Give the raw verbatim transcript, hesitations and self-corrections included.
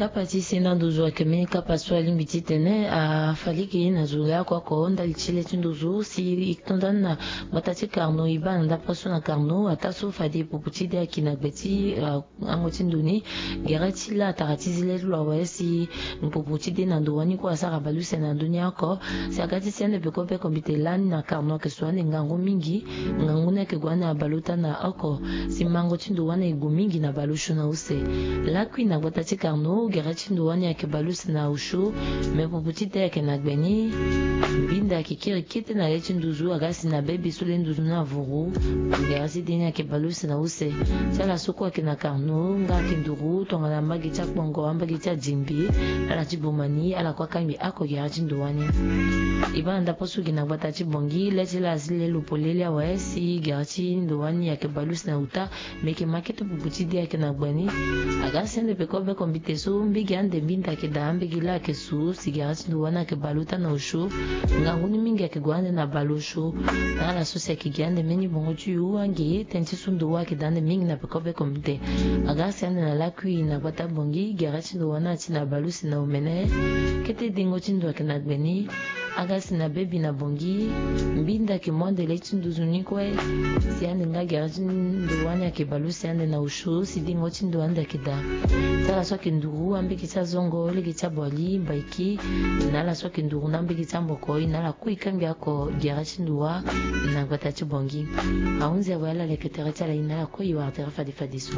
Kapa ti senda nduzu ayeke mbeni kapa so alingbi titene afaliki na zo le oko oko ndali ti le ti nduzu si e to nda ni na gbata ti Carnot, e baa na ndapre so na Carnot ataa so fade pupu ti de ayeke na gbe ti, ah, ango ti ndo ni. Gere ti la atara ti zi le ti lo awe si pupu ti de na ndo wani kue asara baleuse na ndö ni oko. Si aga ti si ande peko be kombite lani na Carnot ayeke so ande ngangu mingi. Ngangu ni ayeke gue ande na baleota na oko. Si mango ti ndo wani aye gue mingi na baleosio na use. Lakui na gbata ti Carnot, gere ti ndo wani ayeke baleuse na osio. Me pupu ti de ayeke na gbe ni. Mbinda ayeke kiri kete na le ti nduzu aga si na bebe so le nduzu ni avuru. Gere ti de ni ayeke baleuse na use. Ti ala so kue ayeke na Carnot nga ayeke nduru tongana mbage ti akpongo, ambage ti adimbi, ala ti boma ni, ala kue akangbi oko gere ti ndo wani. E baa na ndapre so gi na gbata ti Bangui, le ti la asi le lo polele awe si gere ti ndo wani ayeke baleuse na uta. Me yeke ma kete pupu ti de ayeke na gbe ni. Aga si ande peko be kombite so mbege ande mbinda ayeke daa, ambege la ayeke su, si gere ti ndo wani ayeke baleota na osio. Ngangu ni mingi ayeke gue ande na baleosio. Na ala so si ayeke gi ande mbeni bongo ti yu ange tënë ti so ndo wani ayeke daa ande mingi na peko be kombite. Aga si ande na lakui na gbata Bangui, gere ti ndo wani ati na baleuse na omene. Kete dengo ti ndo ayeke na gbe ni. Aga si na bebe na Bangui, mbinda ayeke mu ande le ti nduzu ni kue. Si ande nga gere ti ndo wani ayeke baleuse ande na osio, si dengo ti ndo ande ayeke daa. Ti ala so ayeke nduru ambege ti azongo, lege ti aboali, mbaiki, na ala so ayeke nduru na ambege ti ambokoi, na ala kue e kangbi oko gere ti ndo wa na gbata ti Bangui. Ahunzi awe, ala leke tere ti ala ye na ala kue e wara tere fade fadeso.